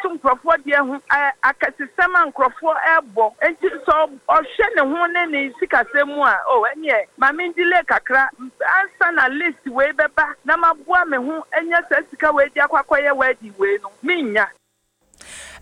atoto nkurɔfoɔ deɛ ho, akɛsesɛm a nkurɔfoɔ rebɔ. Enti sɛ ɔhwɛ ne ho ne ne sikasɛm mu a, oh, ɛnneɛ ma me delay kakra ansa na list wei bɛba na maboa me ho anya saa sika wei de akɔ akɔyɛ wedding wei no, mennya.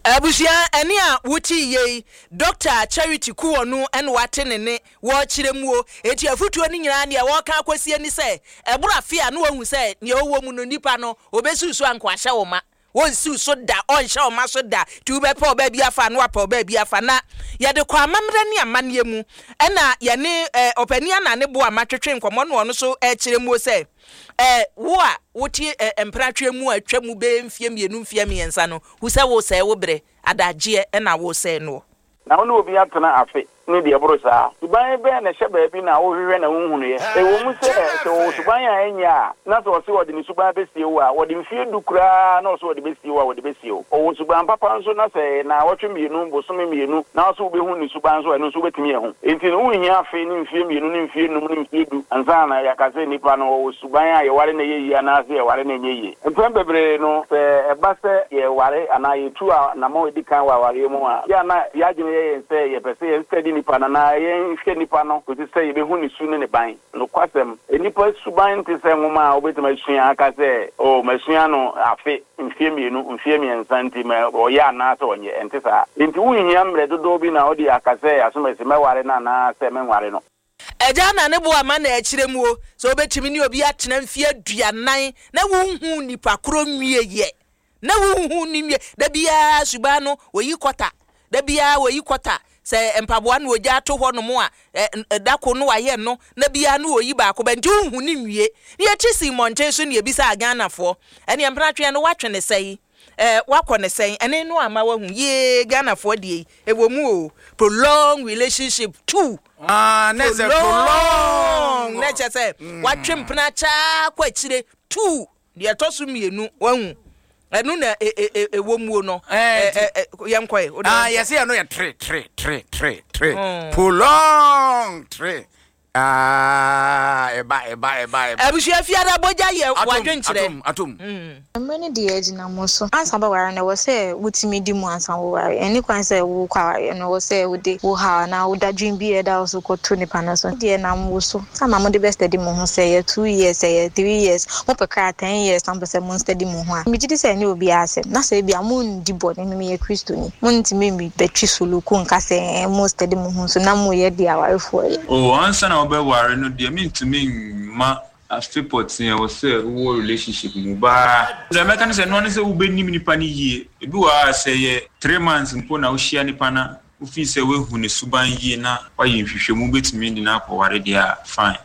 Abusua, ɛnne a wote yei, Dɔkta Charity Kuwonu na wate ne nne wɔrekyerɛ mu o. Enti afotuo no nyinaa deɛ wɔreka akɔsie ne sɛ, ɛboro afe a na wahu sɛ deɛ ɔwɔ mu no nipa no, ɔbɛsiw so anka wahyɛ wo ma. Wɔnsiw so da, ɔnhyɛ wo ma so da. Nti wobɛpɛ ɔbaa bi afa a na wapɛ ɔbaa bi afa. Na yɛde kɔ amammerɛ ne amanneɛ mu. Ɛna yɛne eh, ɔpanin Anane Boamah twetwe nkɔmmɔ na ɔno nso rekyerɛ mu sɛ, eh, wo a wote eh, mpenatweɛ mu a atwa mu bɛyɛ mfeɛ mmienu mfeɛ mmiɛnsa no, hu sɛ woresɛe wo berɛ, adagyeɛ na woresɛe noɔ. Na wo ne obi atena afe ne deɛ ɛboro saa. Suban bɛn na ɛhyɛ baabi na wohwehwɛ na wonhunuiɛ? Ɛwɔ mu sɛ, sɛ ɔwɔ suban a ɛnyɛ a, na sɛ ɔse ɔde ne suban bɛsie wo a, ɔde mfeɛ du koraa na ɔse ɔde bɛsie wo a, ɔde bɛsie wo. Ɔwɔ suban papa nso na sɛ ɛyɛ naawɔtwe mmienu, bosome mmienu na ɔse wobɛhu ne suban nso a, ɛno nso wobɛtumi ahu. Enti no, wonhia afe ne mfeɛ mmienu ne mfeɛ nnum ne mfeɛ du ansa na yɛaka sɛ nipa no ɔwɔ suban a yɛware no ɛyɛ yie anaasɛ yɛware no ɛnyɛ yie. Mpɛn bebree no, sɛ ɛba sɛ yɛreware anaa yɛtu anammɔn a ɛdi kan wɔ awareɛ mu a, yɛ a na yɛn adwene yɛ yɛn sɛ yɛpɛ sɛ yɛn study nipa no anaa yɛhwɛ nipa no kɔsi sɛ yɛbɛhu ne su ne ne ban. Nokwasɛm, nnipa suban nte sɛ nwoma a wobɛtumi asua aka sɛ, Oh, masua no afe, mfeɛ mmienu, mfeɛ mmiɛnsa nti ɔyɛ anaasɛ ɔnyɛ. Ɛnte saa. Enti wonhia mmerɛ dodoɔ bi na wode aka sɛ asomasi mɛware no anaasɛ menware no. Agya na ne bo ama na ɛkyerɛ mu o, sɛ wobɛtumi ne obi atena mfeɛ aduanan na wonhuu nipa korɔ nwieɛ, na wonhuu no nwie, da biara suban no wɔyi kɔta, da biara wɔyi kɔta, sɛ mpaboa na wɔgya ato hɔ nom a, ɛ, da ko no wayɛ no, na biara no wɔyi baako bɛ, nti wonhu no nwie. Ne yɛte sii mmɔnten so ne yɛbisaa Ghanafoɔ, ɛneɛ mpenatweɛ no woatwe ne sɛn? Eh wakɔ ne sɛn ɛne no ama wahu yee Ghanafoɔ deɛ yi ɛwɔ mu o prolong relationship too Ah, na ɛsɛ prolong na kyɛ sɛ watwe mpena kyaa kɔ akyire too deɛ ɛtɔ so mmienu wahu ɛno na ɛwɔ muo no yɛnkɔe ah, yɛsɛ ɛno yɛ tre tre tre tre tre prolong tre Ah, ɛba, ɛba, ɛba, ɛba. Abusua fiara bogya yɛ wadwenkyerɛ. Atom, atom, atom. Mmerɛ no deɛ agyina mo so. Ansa wobɛware no ɛwɔ sɛ wotumi di mu ansa woware. Ɛnni kwan sɛ wokɔ awareɛ no ɛwɔ sɛ wode wo haw anaa wo dadwen bi a ɛda wo so kɔto nipa no so. Deɛ ɛnam wo so time a mode bɛ steady mo ho sɛ ɛyɛ 2 years ɛyɛ 3 years mopɛ koraa 10 years na mopɛ sɛ mo steady mo ho a megye di sɛ ɛnyɛ obiara asɛm na sɛ ebia mondi bɔne me meyɛ Kristoni montumi mmɛtwi suluku nka sɛ ɛɛ mo steady mo ho nso na moyɛ deɛ awarefoɔ yɛ. Oh ansa na wobɛware no deɛ mentumi mma afe pɔtee a ɛwɔ sɛ wowɔ relationship mu baa. Deɛ mɛka ne sɛ ɛnoa ne sɛ wobɛnim nipa no yie. Ebi wɔ hɔ a sɛ ɛyɛ 3 months mpo na wohyia nipa no a wofii sɛ woahu ne suban yie na woayɛ nhwehwɛmu wobɛtumi de no akɔware deɛ a fine.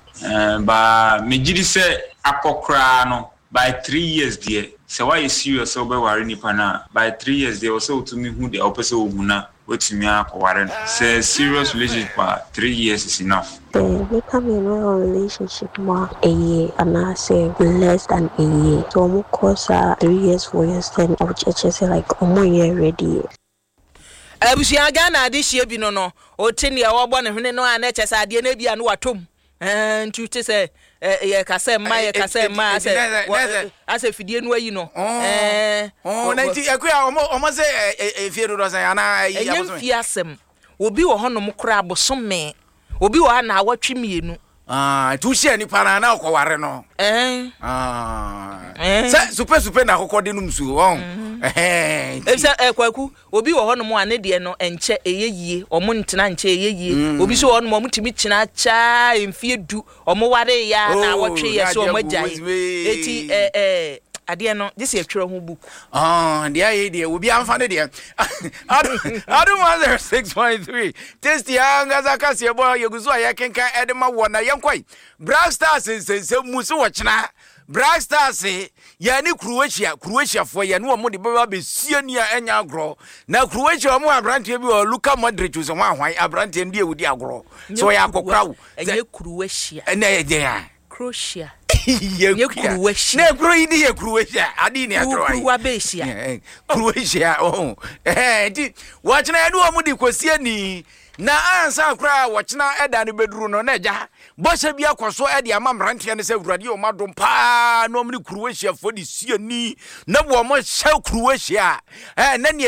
But megye di sɛ akɔ koraa no by 3 years deɛ sɛ woayɛ serious sɛ wobɛware nipa no a by 3 years deɛ ɛwɔ sɛ wotumi hu deɛ wopɛ sɛ wohu na woatumi akɔware no. Sɛ serious relationship a 3 years is enough. Sɛ nnipa mmienu wɔ relationship mu a, a year anaasɛ less than a year. Sɛ wɔn kɔ saa 3 years, 4 years then ɛkyerɛ sɛ like wɔn nyɛ ready yɛ. Abusua Ghana adehyeɛ bi no no, wote nea ɔrebɔ ne hwene no a na ɛkyɛ sɛ adeɛ no ebia no watɔ mu. Ɛɛ nti wote sɛ yɛka sɛ mma yɛka sɛ mma asɛ asɛ fidie no ayi no. Ɛɛ. Na nti akuya ɔmo ɔmo sɛ efie dodoɔ sɛn anaa ɛyi abosome. Ɛnyɛ mfie asɛm. Obi wɔ hɔnom koraa bosome. Obi wɔ ha naawɔtwe mmienu. Ah, nti wohyia nipa no a na ɔkɔware no. Ɛn. Ah. Sɛ supe supe na akokɔ de nom nsuo ɔn. Mm-hmm. Efisɛ ɛ Kwaku, obi wɔ hɔnom a ne deɛ no ɛnkyɛ ɛyɛ yie, ɔmo ntena nkyɛ ɛyɛ yie. Mm. Obi nso wɔ hɔnom a ɔmo tumi kyena kyaa mfie du, ɔmo ware yɛ a na oh, awɔtwe yɛ so ɔmo agyae. Eti ɛ ɛ adeɛ no gye sɛ yɛtwerɛ ho book. Ah, deɛ ayɛ deɛ obi amfa ne deɛ. Adom 106.3 Tasty ankasa kaseɛ bɔ yɛgu so a yɛkenkan ɛde ma wɔ na yɛnkɔe. Black Stars nsɛnsɛm mu so wɔkyena Black Stars yɛne Croatia Croatiafoɔ yɛne wɔn de bɛba bɛsie ni a ɛnyɛ agorɔ na Croatia wɔn wɔ aberanteɛ bi wɔ Luka Modric sɛ wɔn ahwan aberanteɛ no deɛ wɔdi agorɔ sɛ ɔyɛ akɔkora wo ɛnyɛ Croatia ɛnna ɛyɛ deɛn a Croatia nyɛ Croatia na kuro yi de yɛ Croatia ade ni atoro ayi kuruwa bɛhyia Croatia ɔho ɛhɛn nti wɔkyena yɛne wɔn de kɔsie ni na ansa koraa wɔkyena ɛda no bɛduru no na agya bɔhyɛ bi akɔ so de ama mmeranteɛ no sɛ awurade yɛ wɔn adom paa na wɔn ne Croatiafoɔ de sie ni na wɔn hyɛ Croatia ɛɛ na neɛ